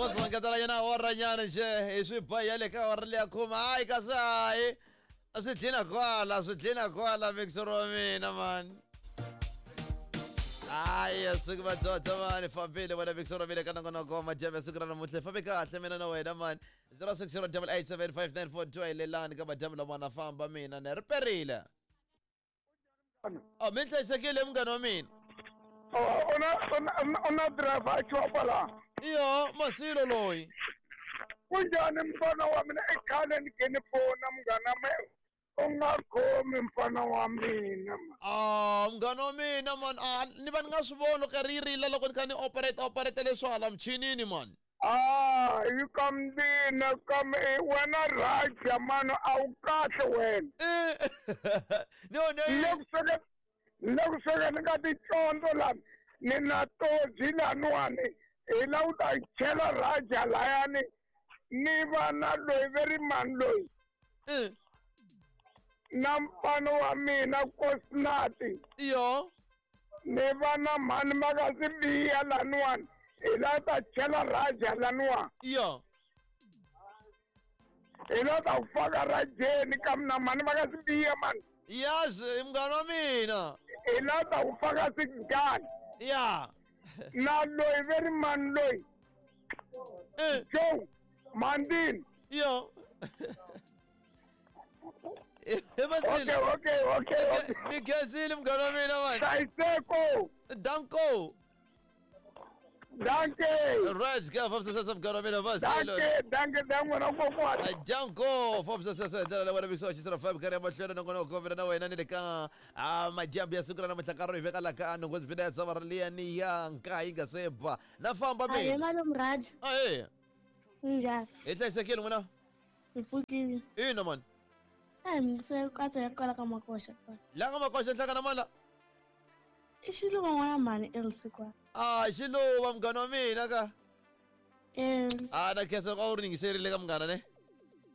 Vozongetela yena awara nyana nje hi swi ba ya le ka awara leya khuma hayi kasi hayi a swi dlina kwala swi dlina kwala mixer wa mina mani hayi siku vatsotso mani fambile wena mixer wa mina ka nongonoko madyambe siku ra namuntlha fambe kahle mina na wena mani 0608875942 hi lelani ka madyambe lama na famba mina ne ri perile o mi hlayisekile munghana wa mina u na driver a chopa la iyo masilo loyi kunjhani mfana wa mina i khale ni ke ni fona munghana me u nga khomi mfana wa mina a munghana wa mina man a ni va ni nga swi voni loko ri rila loko ni kha ni operate operate leswo hala michinini man a yi ka mina ka wena raja mani a wu kahle wena no no le ku swekeni le ku swekeni ka ticondzo lani ni na toji laniwani hi la ku ta chela raja layani ni va na loyi ve ri mani loyi na mfana wa mina kosnati iyo ni va na mhani makasibiya laniwani hi la ta chela raja laniwa iyo hi la ta ku faka rajeni ka mina mhani makasibiya mani yazi munghana wa mina hi la ta ku faka sigani ya na loyi ve ri mani loyi joe mandini iyo okay okay okay okay ni khensile munghana wa mina mani hlayiseko danko danke right ka fambisa munghana wa mina vasilo danke danke dan'wena kokwani danko fambisa sesa ndlela leyi wena mikisa xisira 5 karhi ya mahlweni nongonoko mina na wena ni le ka madyambu ya siku ra namuntlha nkarhi hi veka la ka nhungu byi ya sava ra liya ni ya nkayi yi nga se ba na famba Ahee mina malume Raj, ahe minjhani? hi hlayisekile n'wina Hi pfukile. ina mani A hi mi katsa ya kwala ka makoxa kwala. la nga makoxa nhlangana mani la I xiluva n'wana mhani Elsie kwala. a xiluva munghana wa mina ka Eh, a na khensa loko a wu ri yingiserile ka munghana ne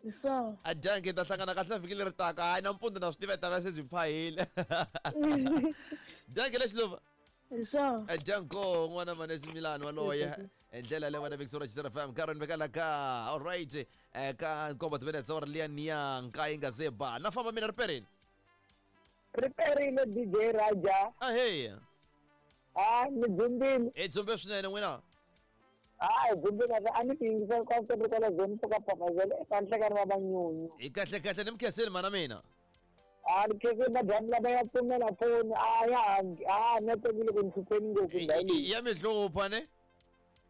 hi swona. a dyanke hi ta hlangana kahle vhiki leri taka hayi nampundzu na swi tiva hi ta va se byi phahile dyanke le xiluva Hi swona. Danko n'wana manesi Milani waloye hi ndlela leyi wena Victoria Chisera FM nkarhi ni veka la ka alright ka nkombo timinetse wa ri liya niya nkayi nga se ba na famba mina riperini ri perile dj raja ahe a ni dzumbile hi dzumbe swinene n'wina a hi dzumbile a ni ti yingisela ka ri kwala zoni ka papazela eka nhlekani wa vanyunyu hi kahle kahle ni mi khensile mana mina a ni khensile madyambu lama ya pfumela foni a ya a network yi le ku ni hlupheni ngopfu ndhawu leyi ya mi hlupha ne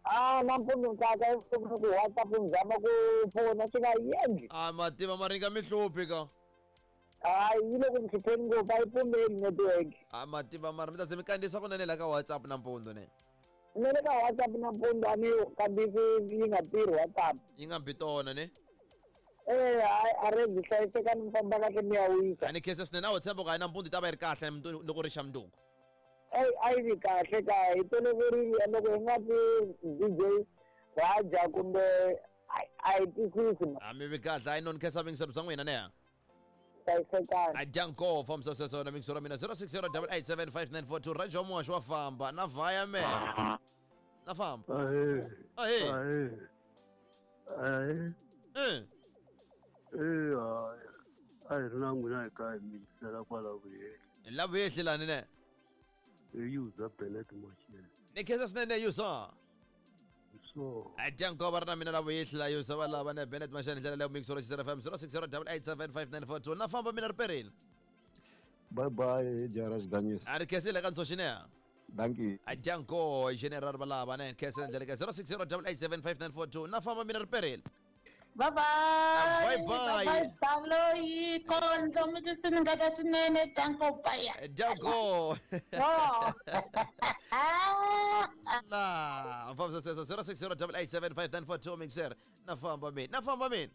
a nampundzu nkaka evuton'wini ku whatsapp ni zama ku fona swi nga endli a mativa ma ringa mi hluphi ka hayi yi le ku ni hlupheni ngopfu a yi pfumeli network a mativa mara mi ta ze mi kandziyisa kunene la ka whatsapp nampundzu ne na le ka whatsapp nampundzu a ni kandziyisi yi nga tirhi whatsapp yi nga bi tona ne eh hayi a ri byi hlayisekani mi famba kahle mi ya wisa a ni khensa swinene a wo tshemba ku hayi nampundzu yi ta va yi ri kahle loko ri xa mundzuku eyi a yi vi kahle ka hi toloverile loko hi nga ti dj raja kumbe a hi twisisi a mi vi kahle hayi no ni khensa vingiselo bya n'wina ne hlayisekani adyanko fambisa sweswo na mixo ra mina 0608875942 rajo muhaxi wa famba na vhaya me na famba Ahee. Ahee. Ahee. Ahee. Eh. Eh, hayi. A hi ri na n'wina hi kaya hi mi yingisela kwala vuyele. la vuyehli lani ne Hi user Bennett Machel. ni khensa swinene yusa So, adyanko va ri na mina la vuyehli la yusa va lava ne benet mashani ndlela leyo mixo ra xisera fm 0608875942 na famba mina riperini bye bye jara xiganyisa a ri khensile ka nsoxineya danki adyanko general va lava ne khensa ndlela ka 0608875942 na famba mina riperini Bye bye. Bye bye. Bye bye. Kondlo mi ti swinene danko bye. adyanko Oh. la fambisa sweswo 0608875942 mixer na famba mina na famba mina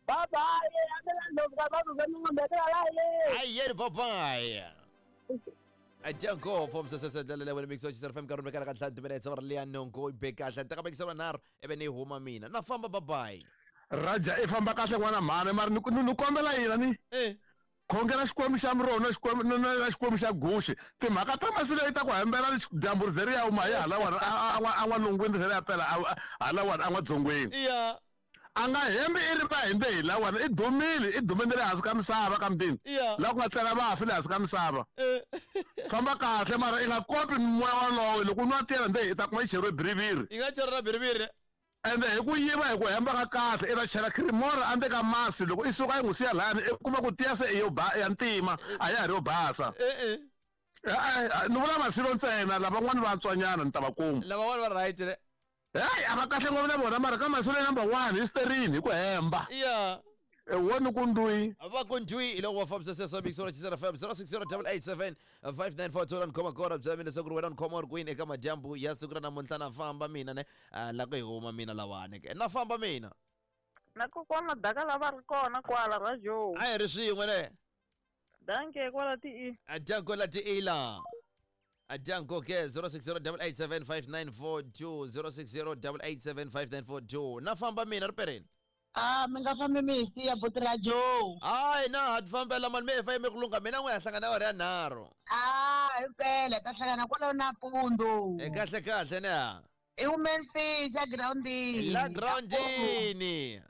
bye bye amela ndlovu ka vanhu va ningombelela la ye ayeni bye bye adyanko fambisa sweswo ndlela leyi wena mixer xisera fm nkarhi vekela ka ntlhanu timinetse va ri liya nongo yi be kahle ni teka mixer nharhu ivi ni huma mina na famba bye bye raja i famba kahle n'wana mhani mara ni ni kombela yina ni eh Khongela Xikwembu xa miroho na Xikwembu na Xikwembu xa guxe. Timhaka ta masi leyi ta ku hembela dyambu ri ze ri ya huma hi halawani a n'walungwini ri ze ri ya pela halawani a n'wadzongweni. Iya. A nga hembi i ri va hembe hi lawani i dumile i dume ni le hansi ka misava ka mutini. Iya. Laha ku nga tlela vafi le hansi ka misava. Famba kahle mara i nga kopi moya walowo loko u nwa tiya nde i ta kuma yi cheriwe biriviri. Yi nga cheriwa biriviri. Ende hi ku yiva hi ku hemba ka kahle i ta chela creamora endzeni ka masi loko i suka i n'wi siya lahayani i kuma ku tiya se i yo ba ya ntima a ya ha ri yo basa. E-e. E-e ni vula masilo ntsena lavan'wani va antswanyana ni ta va kuma. Lavan'wani va right ne? Heyi a va kahle ngopfu na vona mara ka masilo number 1 hi sterling hi ku hemba. Iya. Woni ku ndwi. Va ku ndwi hi loko va fambisa sweswo mixo ra Chisera FM 060887 5942 la ni khoma kona byela mina leswaku ri wena ni khoma u ri kwini eka madyambu ya siku ra namuntlha na famba mina ne la ku hi huma mina lawani ke na famba mina. Na kokwana daka lava ri kona kwala radio. A hi ri swin'we ne. Danke kwala ti i. Danko la ti ila. Danko ke 0608875942 0608875942 na famba mina ri pereni. Ah, mi nga fambi mi hi siya buti ra Joe. Hayi na ha ti fambela mani mi fa yime ku lungha mina n'we ha hlangana awara ya nharhu. Ah, himpela hi ta hlangana kwalaho nampundzu. E kahle kahle ne ha. I women fish a groundini. La groundini.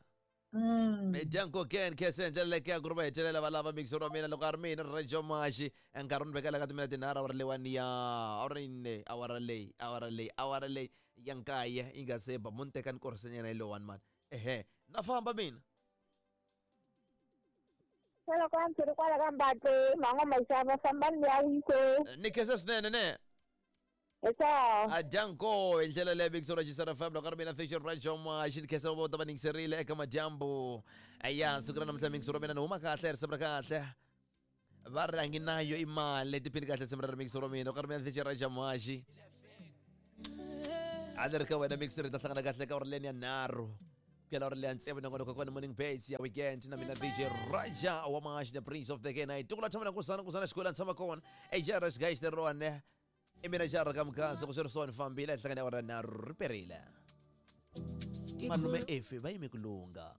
Danko ken ke se ndlela leyi ya ku ri va hetelela va lava mixer wa mina loko a ri mina Radio Mashi nkarhi ni vekela ka timina tinharhu awara leyiwani ya awara yini awara leyi awara leyi awara leyi ya nkaye yi nga se ba mo ni teka ni korhisenyana yi lowani mani ehe na famba mina. Loko a ndzi ri kwala ka Mbatle mhan'wa Maxava fambani mi ya wise. Ni khensa swinene ne. Esa. Danko hi ndlela leyi mixer wa Chisera FM loko a ri mina Fashion Radio Mashi ni khensa vo ta va ningiserile eka madyambu ya siku ra namuntlha mixer wa mina ni huma kahle risimu ra kahle va ri a ngi nayo imali tiphini kahle risimu ra mixer wa mina loko a ri mina Fashion Radio Mashi a ni ri ka wena mixer hi ta hlangana kahle ka uri leni ya nharhu kela uri leya ntsevu nongonoko kona morning base ya weekend na mina DJ Raja wa Mashi the prince of the K9 tukula tshama na kusana kusana xikolo ni tshama kona ejara xigayi lerone i mina jara ka mukhansi ku swi ri swona fambile hi hlangana awara nharhu ri perile malume efi va yime ku lungha.